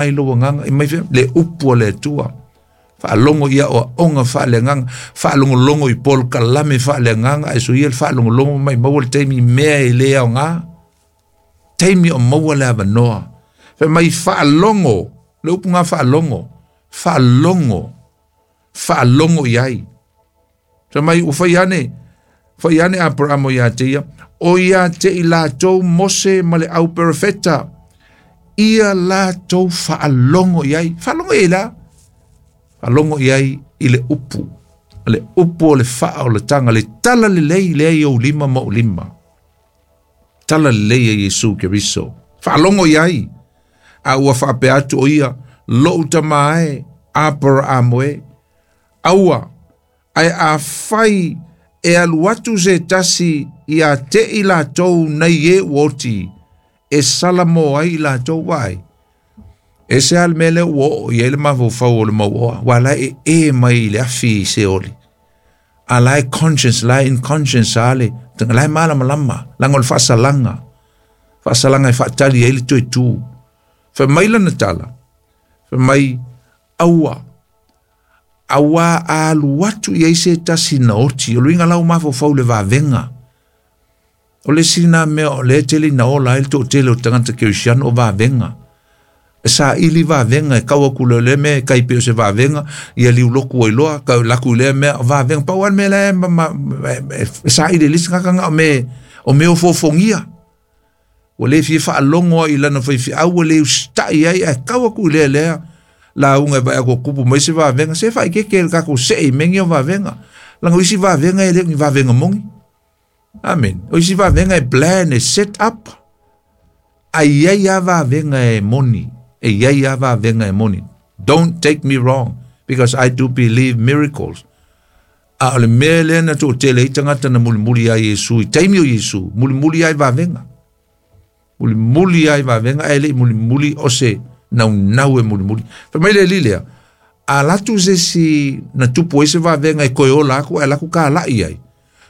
Ai lou agaga i mai fea le upu a le Atua. Faalogo i aoaoga faaleagaga, faalogologo i polokalame faaleagaga, ae soia le faalogologo ma maumau le taimi i mea e le aoga. Taimi o maua le avanoa. Fai mai faalogo, le upu ga faalogo, faalogo, faalogo i ai. Fai mai ua fai ane, fai ane Aperamo ia te ia, o ia te i latou Mose ma le au perofeta, ia latou faalogo i ai. Faalogo i ai la? Faalogo i ai i le upu. Le upu o le faaolataga, le tala lelei lea i ou lima ma ou lima. Tala lelei e Iesu Keriso. Faalogo i ai. A ua faapea atu o ia, lou tama e, Aperamo e, aua, ae afai e alu atu se tasi ia te i latou nei e ua oti, e salamo ai i latou vaai. E se a le mea lea ua oo i ai le mafaufau o le mauoa, ua la e e mai i le afi i Seoli. A la e conscience, la e inconscience a le, la e malamalama, laga o le faasalaga. Faasalaga e faatali ai le toe tu. Fai mai lana tala, fai mai, aua, auā a alu atu i ai se tasi na oti, o le uiga la ua mafaufau i le vavega. O le isi lena mea o lea e tele ina ola ai le toatele o tagata kerisiano o vavega. E saili vavega e kau atu lea mea e tai pei o se vavega, ia liuloku ai loa, kau laku i lea mea o vavega. Pau lava le mea la e saili e le isi tagata na o mea, o mea ofoofogia. Ua le fia faalogo ai i lana faifeau, ua le usitai ai, ae tau atu i lea lea lauga e vaai atu ua tupu mai se vavega, se faaeteete i le tatou see i mea nei o vavega. Leaga o isi vavega e le o ni vavega moni. Amene. O isi vavega e plan, e set up. Ae i ai lava vavega e moni. E i ai lava vavega e moni. Don't take me wrong, because I do believe miracles. A o le mea lea na toatele ai tagata na mulimuli ia Iesu i taimi o Iesu, mulimuli ai vavega. Mulimuli ai vavega, ae le i mulimuli o se naunau e mulimuli. Fai mai le alii lea, a alu atu se isi na tupu ai se vavega e toe ola atu ae alu atu talai ai,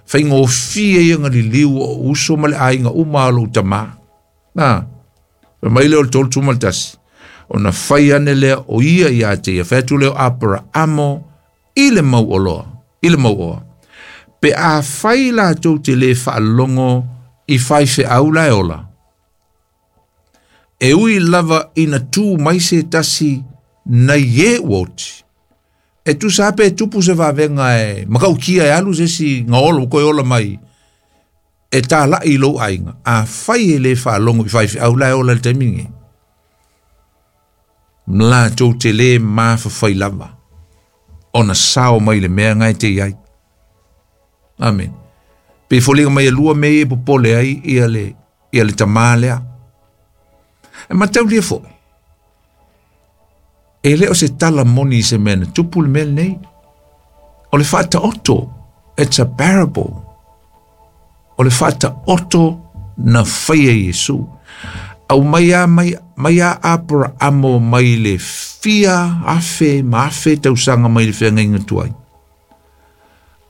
faigofie ia ona liliu o uso ma le aiga uma o lou tamā. Na, fai mai lea o le 31, ona fai ane lea o ia ia te ia, fai atu lea o Aperaamo i le mauoloa, i le mauoa. Pe afai latou te le faalogo i faifeau la e ola, e ui lava ina tu mai se tasi nai e ua oti, e tusa lava pe tupu se vavega e matautia e alu se isi gaolo ua toe ola mai e talai i lou aiga, afai e le faalogo i faifeau la e ola i le taimi lenei, latou te le mafafai lava ona sao mai le mea na e te i ai. Amen. Pe foliga mai e lua mea ia e popole ai ia le, ia le tamā lea. E mataulia foi, e le o se tala moni i se mea na tupu le mea lenei. O le faataoto, it's a parable. O le faataoto na faia e Iesu. Aumai a mai, mai a Aperaamo mai le fia afe ma afe tausaga mai le feagaiga tuai.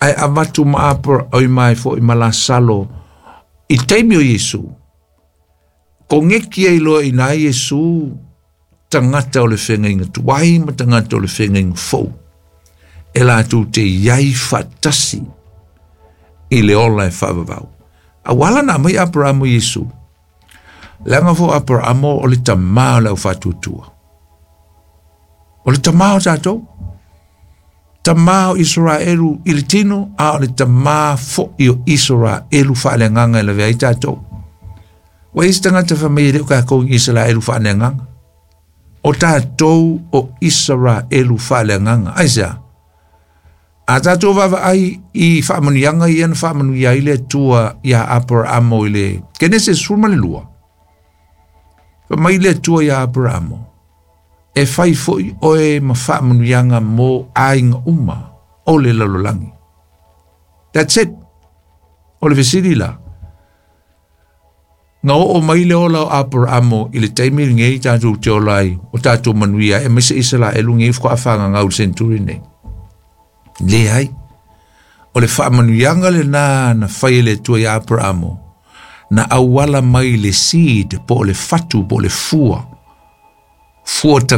Ae avatu ma Apera, oi mai foi ma Lasalo i taimi o Iesu. Koneki ai loa i na Iesu tagata o le feagaiga tuai ma tagata o le feagaiga fou, e latou te i ai faatasi i le ola e faavavau. A ua ala ona aumai Aperamo i Iesu, leaga foi o Aperamo o le tamā o le aufaatuatua. O le tamā o tatou, tamā o Isaraelu i le tino, a o le tamā foi o Isaraelu faaleagaga e lavea ai tatou. Ua i ai se tagata fai mai e le o tatou ni Isaraelu faaleagaga. O tatou o Isaraelu faaleagaga. Aisea? A tatou vaavaai i faamanuiaga ia na faamanuia ai le Atua iā Aperaamo i le Kenese 12, fai mai le Atua iā Aperaamo, e fai foi oe ma faamanuiaga mo aiga uma o le lalolagi. That's it. O le fesili la, Na oo mai le ola o Aperaamo i le taimi lenei tatou te ola ai, o tatou manuia ai, aemaise Isaraelu nei faatoa fagagau i le century nei. Leai. O le faamanuiaga lena na fai e le Atua iā Aperaamo, na auala mai le seed po o le fatu po o le fua. Fua.